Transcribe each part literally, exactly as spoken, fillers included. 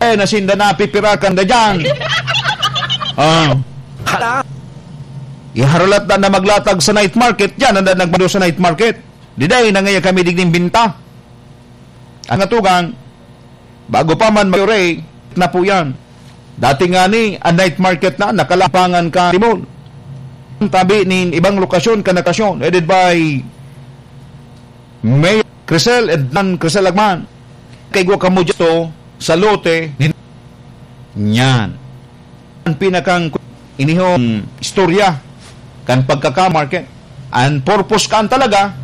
Eh, nasinda na, pipirakan na dyan. Ah. Hala. Iharalat na na maglatag sa night market, dyan ang nagmando sa night market. Diday na ngaya kami digding binta. Ang atugang, bago pa man mag-, na po yan. Dati nga ni, ang night market na, nakalapangan ka, Timol. Tabi nin ibang lokasyon, kan lokasyon, headed by Mayor Crisel, Ednan Crisel Agman. Kay gwa kamo dito, sa lote, nin-, yan. Ang pinakang inihong istorya kan pagkaka-market. Ang purpose kan talaga,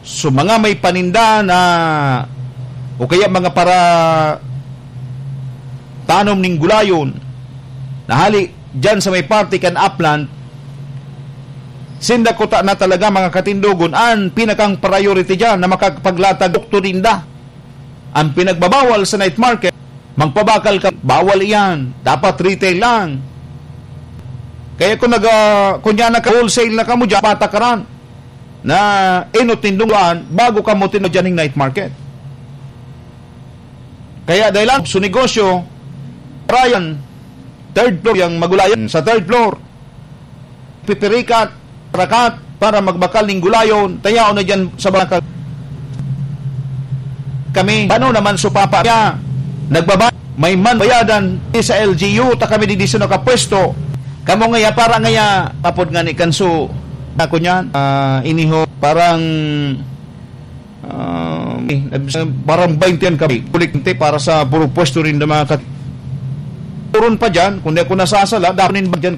so mga may paninda na, o kaya mga para tanom ning gulayon, na hali dyan sa may parte kan upland, sinda kuta na talaga mga katindogon, ang pinakang priority dyan na makakapaglatag produkto ninda. Ang pinagbabawal sa night market, magpabakal ka, bawal iyan. Dapat retail lang. Kaya kung nag-, ah, kunya na ka-wholesale na kamo dyan, patakaran na inot nindong daan bago kamo tino dyan ning night market. Kaya dahil lang sa negosyo, Ryan, third floor, yung magulayan sa third floor. Pipirikat, rakat, para magbakal ning gulayon, tayaon na dyan sa bakal. Kami, ano naman so papa niya? Nagbaba-, may man bayadan sa L G U, ta kami di, di sa nakapwesto. Kamo ngaya, para ngaya, apod nga ni Kanso, ako niyan, ah, iniho, parang, ah, eh, parang baintihan kami, kulikante para sa puro pwesto rin ng mga kat-, Puron pa dyan, kung di ako nasasala, dapat nin ba dyan?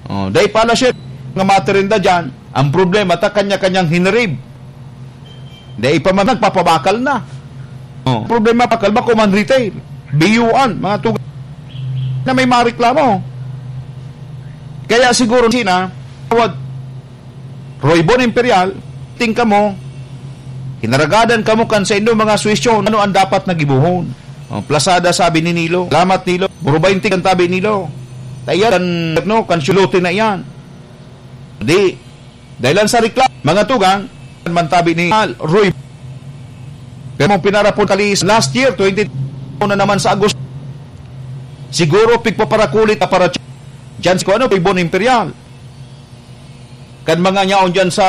Oh, dai pala siya nga materinda dyan. Ang problema, ta kanya-kanyang hinirib. Dai pa man nagpapabakal na. Oh, problema, bakal, bako man retail. Biyuan, mga tuga na may mareklamo. Kaya siguro sina, tawad, Roy Bon Imperial, ting kamo, kinaragadan kamo kan sa inyong mga suwestyon, ano ang dapat na gibohon? Oh, plasada, sabi ni Nilo. Salamat, Nilo. Puro bainti kan tabi, Nilo. Tayan, kan, no, kan syulote na iyan. Di, dahil lang sa reklamo, mga tugang, man tabi ni Roy. Pero mong pinarapon kali last year, twenty, na naman sa Agosto. Siguro, pigpaparakulit na para dyan si, ano, Roy Bon Imperial. Kan mga nyaon dyan sa,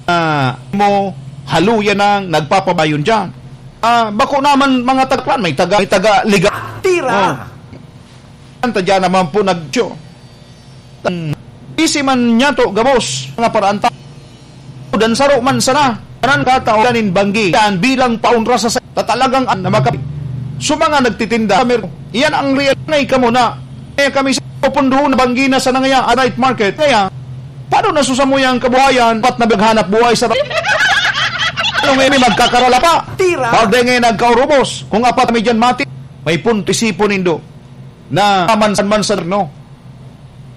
ah, mo, haluya nang nagpapabayon dyan. Ah, bako naman mga tagpan, may taga, may taga liga. Tira! Oh. Ang tadya naman po nag-, isi man niya to, gabos, mga paraan ta-, dan saro man sana. Kanan katao, nin banggi, yan bilang paunra sa sa-, ta talagang an-, na makap-, so mga nagtitinda, mer-, iyan ang real na ikaw muna. Kaya kami sa pupunduhon na banggi na sa nangaya, a night market. Kaya, paano nasusamo yung kabuhayan? Pat na maghanap buhay sa ra-, ano ngayon, may magkakarala pa? Tira! Pag di ngayon nagkaurubos, kung apat kami dyan mati, may punto isipon nindo na mansan-mansan, no?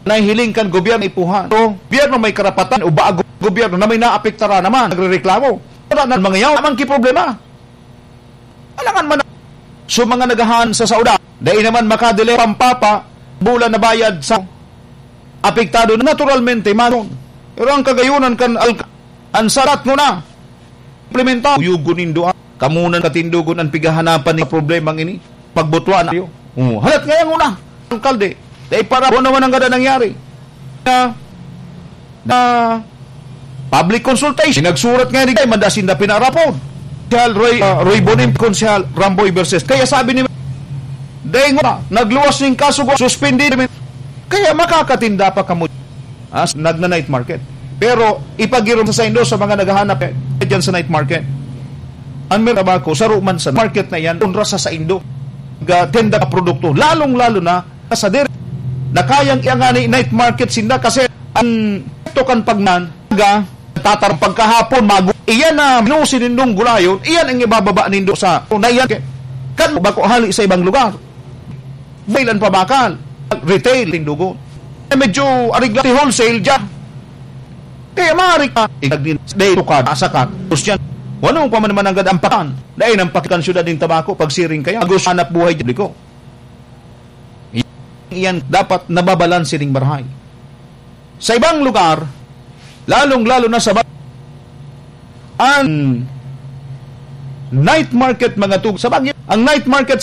Nahihiling kan gobyerno ipuhan. So, gobyerno may karapatan o bago gobyerno na may naapektaran naman, nagrereklamo. Wala na mga yaw, naman ki problema. Alangan man, so mga nagahan sa sauda, dai naman makadili pampapa, bulan na bayad sa apektado na naturalmente, manon. Pero ang kagayunan kan alka-, ang sarat mo na, implementa, uyugon nindo, ah. Kamunan katindogon ang pighahanapan ni problemang ini. Pagbutwa na kayo. Oh, halat nga yung una, alkalde. Dahil para buwan naman ang gada nangyari. Na, na public consultation. Nagsurat nga ni Day, mandasin na pinarapon. Konsehal Roy, ah, Roy Bonim, Konsehal Ramboy versus. Kaya sabi ni Day nga, nagluwas ning kaso, suspindi. Kaya makakatinda pa kamo as nagna-night market. Pero ipagirom sa saindo sa mga naghahanap, eh, dyan sa night market. Ang may trabaho, saro man sa market na yan, kontra sa saindo. Ga-, tenda ka produkto, lalong-lalo na sa dir-, na kayang iangani night market sinda kasi ang ito kan pagnan, ga, tatar pagkahapon, magu-, iyan na minusi nindong gulayon, iyan ang ibababa nindo sa, na iyan, kan bako hali sa ibang lugar. Dahil ang pabakal, retail, tindugon. Eh, medyo arigla si wholesale dyan. Kaya maaari ka, igagnin, day tukad, asakan, tapos yan. Wano pa man naman ang gadampakan, dahil ang pakikan syudad ng tabako, pagsiring kaya, agos hanap buhay dyan ko. Iyan dapat nababalanse ning marahay. Sa ibang lugar, lalong-lalo na sa ba-, ang night market, mga tug-, sa Baguio, ang night market sa